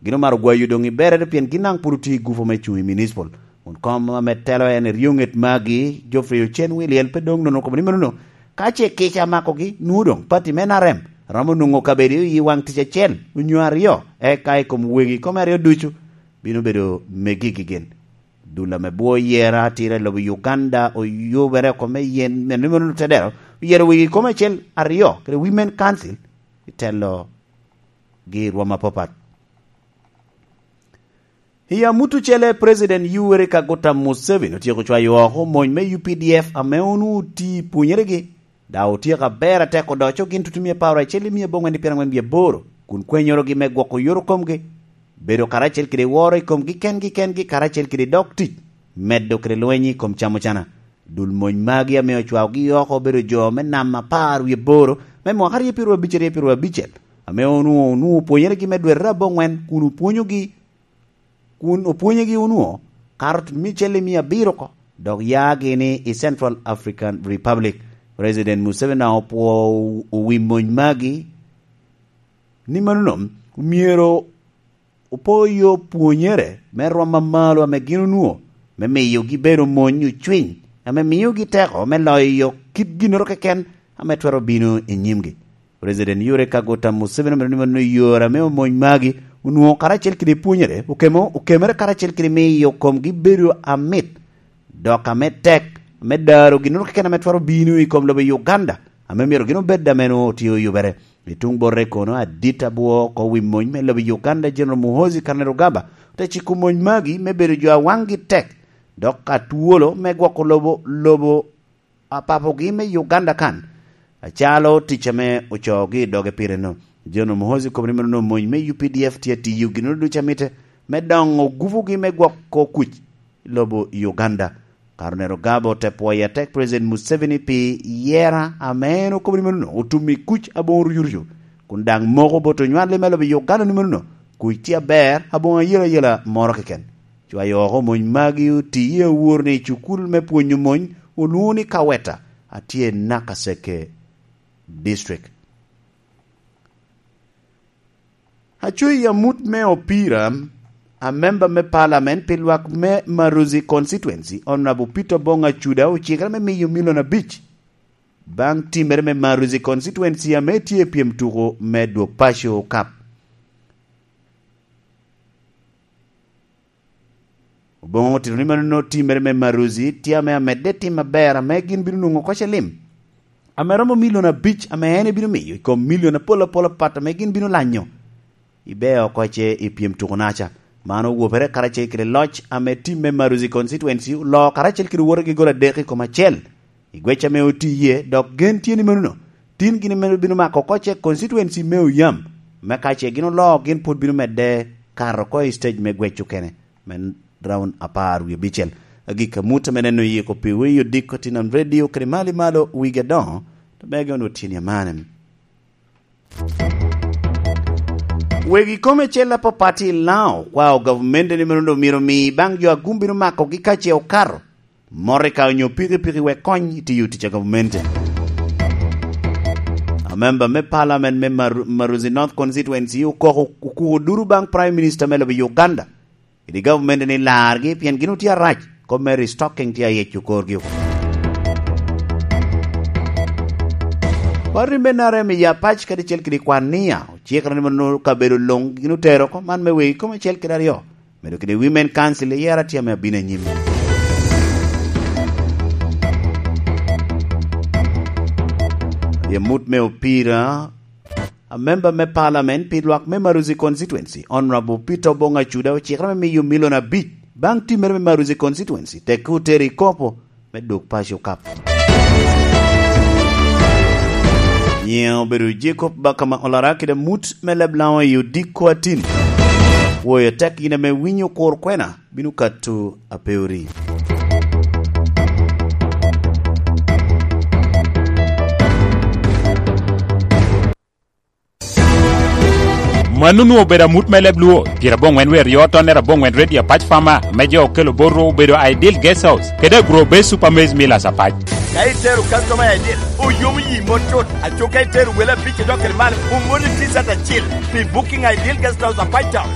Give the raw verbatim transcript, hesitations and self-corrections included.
Gin omaro gwayo doŋ i berere pien gin daŋ pwod otye i gupo me cuŋ i municipal. Won kom ame telo en eryo ŋet magi, Geoffrey Ocen Wiliel, pe doŋ nono kome ni manono. Ka ce kica makogi, nwoŋo doŋ pati me N R M romo nwoŋo kabedo i waŋ tic acel onyo aryo, eka i kom wegi kome aryo ducu bino bedo megi gigin. Dul ame bwo yera atira i lobo Uganda oyubere oko me yen, me nwoŋo tedero, oyero wegi kome acel aryo kede Women Council i telo gi rwom apapat. I amut ocele, President Yoweri Kaguta Museveni otyeko cwayo oko mony me U P D F ame onwoŋo oti pwonyeregi. Daŋ otyeko aber atek odoco gin tutumia apar acel i mia aboŋwen i pyerangwen wie aboro, kun kwenyorogi me gwoko yoro komgi, bedo karacel kede woro i komgi kengi kengi, karacel kede dok tic, medo kede lweny i kom camo cana. Dul mony magi ame ocwaogi oko obedo jo me nam apar wie aboro me mwaka aryo pyeraryo abic, aryo pyeraryo abicel, ame onwoŋo, onwoŋo pwonyeregi me dwete aboŋwen, kun opwonyogi, kun opwonyegi onwoŋo kato tutumia acel i mia abiro oko, dok yagi ni i Central African Republic. President Museveni daŋ opwoo owi mony magi ni manono myero opo yo pwonyere me rwom amalo ame gin onwoŋo, me miyogi bedo mony ocwiny, ame miyogi teko me loyo kit ginnoro keken ame twero bino i nyimgi. President Yoweri Kaguta Museveni omedo ni mano yore ame omony magi onwoŋo karacel kede pwonyere, okemo-, okemere karacel kede miyo komgi bedo amit, dok ame tek, ame daro ginnoro keken ame twero bino i kom lobo Uganda, ame myero gin obed ame nwoŋo tye oyubere. I tuŋ bote kono, adit abwo oko wi mony me lobo Uganda, General Muhoozi Kainerugaba, ote ciko mony magi me bedo jo a waŋgi tek, dok atwolo me gwoko lobo, lobo a papogi me Uganda kan, acalo tic ame ocoogi i doge pire-nu. General Muhoozi okobo ni mano mony me U P D F tye atiyo ginnoro ducu a mitte me doŋo gupugi me gwoko kuc i lobo Uganda. Kainerugaba ote pwoyo atek President Museveni pi yera ame en okobo ni mano otum i kuc aboŋo rucurucu, kun daŋ moko bot onywalli me lobo Uganda ni mano kuc tye aber aboŋo ayelayela moro keken. Cwayo oko mony magi oti i awor ni cukul me pwonyo mony olwoŋo ni Kaweta, a tye i Nakaseke District. Aco i amut me opira, a member me parliament pi lwak me Maruzi Constituency, Honorable Peter Obong Acuda, ocikere me miyo milion abic baŋ timmere me Maruzi Constituency ame tye i pyem tuko me Dwog Paco Cup. Oboŋo otito ni mano timmere me Maruzi tye ame amedde tim aber ame gin bino nwoŋo oko celim ame romo milion abic ame en ebino miyo i kom milion apol apol apat ame gin bino lanyo i beo oko ce i pyem tuko-naca. Man owopere karacel kede loc ame tim me Maruzi Constituency oloo karacel kede wotegi gol adek i kom acel i gwec ame oti iye, dok gen tye ni manono tin gin ame bino mako oko ce constituency me Oyam, me ka ce gin oloo gin pwod bino medde kato oko i stage me gwec okene me round apar wie abicel. Agikki amut ame neno yiko pi wi odiko Tinan Radio kede malo i malo wigi adoŋo, to mege onwoŋo tye ni amane. Wegi kome cel apapat i Lango okwao gavumenti ni mano doŋ myero omi baŋ jo a gum bino makogi ka ce okato motoka onyo pikipiki wek kony i tiyo tic a gavumenti. Amemba me parliament me Mar-, Maruzi North Constituency okoko okuko duru baŋ Prime Minister me lobo Uganda kede gavumenti ni largi pien gin otye arac, kop me restocking tye ayeco korgi oko. Party me N R M i Apac kadi cel kede Kwania ocikere ni mano kabedo luŋ gin otero oko man me wegi kome acel kede aryo, medo kede Women Council i yera tye ame abino anyim. I amut me opira, a member me parliament pi lwak me Maruzi Constituency, Honorable Peter Obong Acuda, ocikere me miyo milion abic baŋ timmere me Maruzi Constituency, tekke otere i kopo me Dwog Paco Cup. Nyiŋe obedo Jacob Bakama Olara kede amut me leb Lango i odiko atin. Woyo tek in ame winyo kur kwena bino kato apeori. Mano onwoŋo obedo amut me leb Luo, pyerabongwen wer yo tonnere abongwen Radio Apac Farmer, me jo okelo bot rwo obedo Ideal Guest House, kede Agro Base Super Maize Millers Apac. Ka itero customer Ideal, oyomo yi mot cut, aco ka itero wele abic idok kede malo, omoni T-shirt acil pi Booking Ideal Guest House Apac Town.